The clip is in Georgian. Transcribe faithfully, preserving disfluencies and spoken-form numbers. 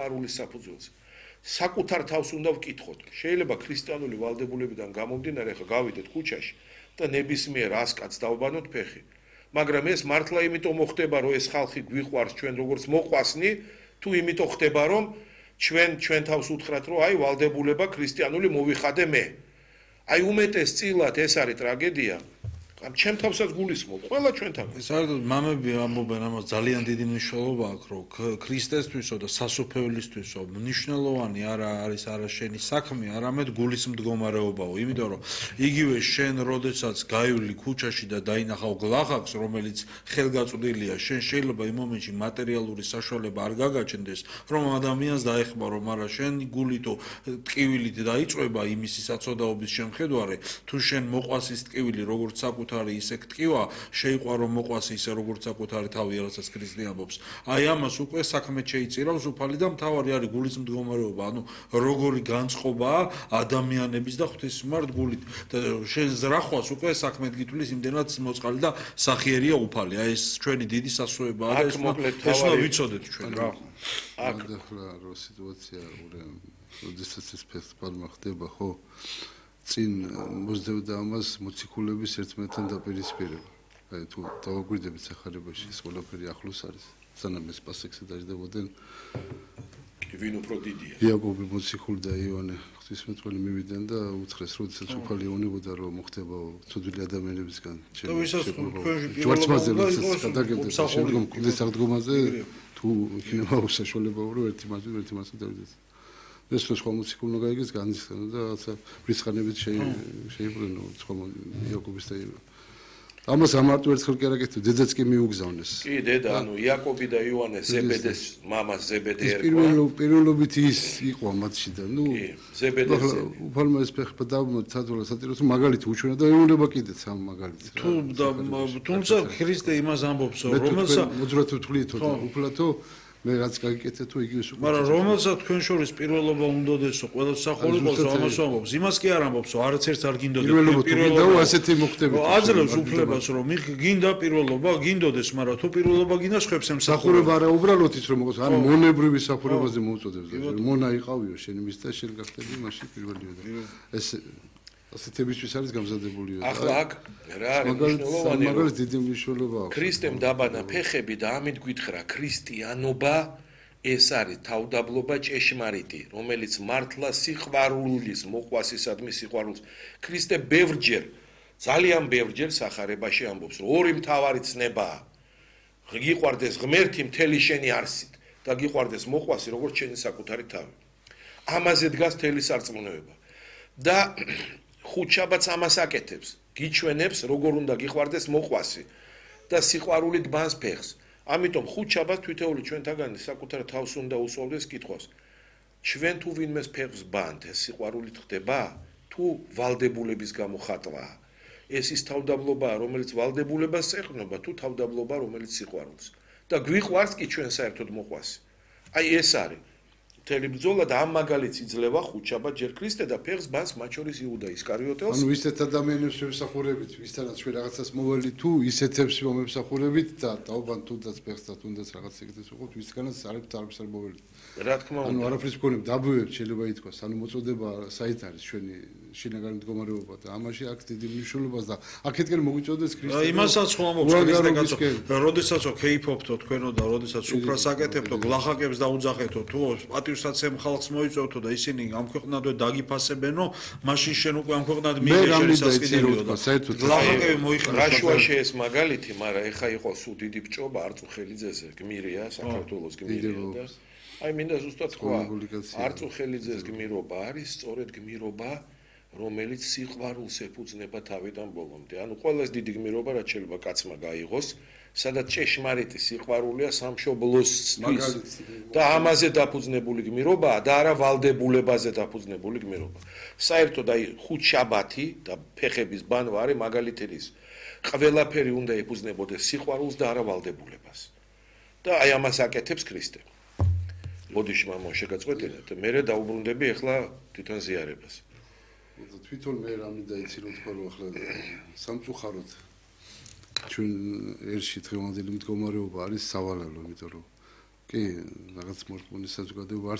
სიყვარულის საფუძველზე. საკუთარ თავს უნდა ვკითხოთ. შეიძლება ქრისტიანული ვალდებულებიდან გამომდინარე ხა გავიდეთ ქუჩაში და ნებისმიერ ას კაცს დავბანოთ ფეხი. მაგრამ ეს მართლა იმიტომ მოხდება, რომ ეს ხალხი გვიყვარს ჩვენ როგორც მოყვასნი, თუ იმიტომ ხდება, რომ ჩვენ ჩვენ თავს უთხრათ, რომ აი ვალდებულება ქრისტიანული მოვიხადე მე. აი უმეტესწილად ეს არის ტრაგედია. ამ ჩემ თავსაც გულისხმობ, ყველა ჩვენთან. საერთოდ მამები ამბობენ ამას ძალიან დიდი მნიშვნელობა აქვს, რომ ქრისტესთვისო და სასופველისთვისო მნიშვნელოვანი არა არის არა შენი საქმე, არამედ გულის მდგომარეობაო, იმიტომ რომ იგივე შენ როდესაც გაივლი ქუჩაში და დაინახავ გლახაკს, რომელიც ხელგაწვდილია, შენ შეიძლება იმ მომენტში მატერიალური საშუალება არ გაგაჩნდეს, რომ ადამიანს დაეხმარო, მაგრამ შენ გულითო ტკივილით დაიწვება იმისი საწოდაობის შემხედვარე, თუ შენ მოყვასის ტკივილი როგორც საკუთარი ისე ტკივა, შეიყვარო მოყვასი ისე როგორც საკუთარი თავი, რასაც ქრისტე ამბობს. აი ამას უკვე საქმე შეიწირავს უფალი და მთავარი არის გულის მდგომარეობა, ანუ როგორი განწყობაა ადამიანების და ღვთისმართ გულით. და შენ ზრახვას უკვე საქმე გითვლის იმდენად მოწყალი და სახიერია უფალი. აი ეს ჩვენი დიდი სასწაუებაა და ეს უნდა ვიცოდეთ ჩვენ რა. აქ ახლა რო სიტუაცია როდესაც ეს ფესტივალი ხდება, ხო? წინ მოსდევდა ამას მოციქულების ერთმანეთთან დაპირისპირება. აი თუ დავაგვირდებით სახარებაში ეს ყველაფერი ახლოს არის. სანამ ეს პასექსი დაждდებოდნენ. ვინ უფრო დიდია? იაკობი მოციქული და იოანე ღვთისმეტყველი მივიდნენ და უთხრეს, როდესაც უფალი ეუბნებოდა, რომ მოხდება ცოდვილი ადამიანებისგან. და ვისაც თქვენში ჯვარცმაზე როდესაც გადაგებდა შემდგომ კუდის აღდგომაზე თუ იქნება უსაშუალება რომ ერთი მასზე ერთი მასზე დავიდეს. ეს სხვა მუსიკულმა გაიგეს განისხანა და რაღაცა ბრისხანებით შეიბრუნო სხვა იაკობის და ამას ამარტო ერთხელ კი არ აკეთებ, დედაც კი მიუგზავნეს. კი, დედა, ანუ იაკობი და იოანე ზებედეს მამას ზებედე ერქვა. პირველ პირველობით ის იყო მათში და ნუ ზებედეს. უფალმა ეს ფეხბა დავმოწადულა სატიროს მაგალითი უჩვენა და ეუნება კიდეც ამ მაგალითს. თუ თუმცა ქრისტე იმას ამბობს, რომელსაც მოძრაობ თulietო და უფლათო მე რაც გაგიკეთე თუ იგივე სულ. მაგრამ რომელსაც თქვენ შორის პირველობა უნდოდესო, ყველა სახურებულს ამას ამბობს. იმას კი არ ამბობს, რომ არც ერთს არ გინდოდეს პირველობა ასეთი მოხდებით. აძლევს უფლებას, რომ გინდა პირველობა, გინდოდეს, მაგრამ თუ პირველობა გინდა ხებს ემსახურება არა უბრალოდ ის რომ მოყოს, ან მონებრივი სახურებაზე მოუწოდებს და მონა იყავიო შენ იმის და შენ გახდები მაშინ პირველია და ეს ასეთებისთვის არის გამზადებული. ახლა აქ რა არის მნიშვნელოვანი? მაგალითად დიდი მნიშვნელობა აქვს. ქრისტემ დაბანა ფეხები და ამით გითხრა ქრისტიანობა ეს არის თავდაბლობა ჭეშმარიტი, რომელიც მართლა სიყვარულის მოყვასისადმი სიყვარულს. ქრისტე ბევრჯერ, ძალიან ბევრჯერ სახარებაში ამბობს, რომ ორი მთავარი ცნებაა. გიყვარდეს ღმერთი მთელი შენი არსით და გიყვარდეს მოყვასი როგორც შენი საკუთარი თავი. ამაზე დგას მთელი სარწმუნოება. და ხუთშაბათს ამას აკეთებს, გიჩვენებს როგორ უნდა გიყვარდეს მოყვასი და სიყვარულით ბანს ფეხს. ამიტომ ხუთშაბათს თითოეული ჩვენთაგანი საკუთარ თავს უნდა უსვამდეს კითხვას. ჩვენ თუ ვინმეს ფეხს ბანთ, ეს სიყვარულით ხდება? თუ ვალდებულების გამო ხატვაა? ეს ის თავდაბლობაა, რომელიც ვალდებულებას ეყრდნობა, თუ თავდაბლობა, რომელიც სიყვარულს. და გვიყვარს კი ჩვენ საერთოდ მოყვასი. აი ეს არის მთელი ბრძოლა და ამ მაგალითს იძლევა ხუთშაბათ ჯერ ქრისტე და ფეხს ბანს მათ შორის იუდა ისკარიოტელს. ანუ ისეთ ადამიანებს ვემსახურებით, ვისთანაც ჩვენ რაღაცას მოვალით თუ ისეთებს მომემსახურებით და დავბან თუნდაც ფეხს და თუნდაც რაღაც ეგრეს ვიყოთ, ვისგანაც არაფერს არაფერს არ მოვალით. რა თქმა უნდა. ანუ არაფრის მქონებ დაბუებთ შეიძლება ითქვას, ანუ მოწოდება საით არის ჩვენი შინაგანი მდგომარეობა და ამაში აქვს დიდი მნიშვნელობა და აქეთკენ მოგვიწოდეს ქრისტე. იმასაც ხომობს ქრისტე კაცო. როდესაც ქეიფობთო თქვენო და როდესაც უფრას აკეთებთო, გლახაკებს დაუძახეთო, თუ პატივსაც ემ ხალხს მოიწოვთო და ისინი ამ ქვეყნადვე დაგიფასებენო, მაშინ შენ უკვე ამ ქვეყნად მიიღე შესაძლებელი და საერთოდ გლახაკები მოიხსნა. რაშუაში ეს მაგალითი, მაგრამ ეხა იყო სულ დიდი ბჭობა არწუხელიძეზე, გმირია საქართველოს გმირია და აი მინდა ზუსტად თქვა, არწუხელიძეს გმირობა არის სწორედ გმირობა, რომელიც სიყვარულს ეფუძნება თავიდან ბოლომდე. ანუ ყველაზე დიდი გმირობა რაც შეიძლება კაცმა გაიღოს, სადაც ჭეშმარიტი სიყვარულია სამშობლოსთვის და ამაზე დაფუძნებული გმირობაა და არა ვალდებულებაზე დაფუძნებული გმირობა. საერთოდ აი ხუთშაბათი და ფეხების ბანვა არის მაგალითი ის. ყველაფერი უნდა ეფუძნებოდეს სიყვარულს და არა ვალდებულებას. და აი ამას აკეთებს ქრისტე. ბოდიში მამო შეგაწყვეტინეთ, მე დაუბრუნდები ახლა თვითონ ზიარებას. თვითონ მე რამინდა იცი რომ თქვა რომ ახლა სამწუხაროდ ჩვენ ერში დღევანდელი მდგომარეობა არის სავალალო, იმიტომ რომ კი, რაღაც მორწმუნის საზოგადოება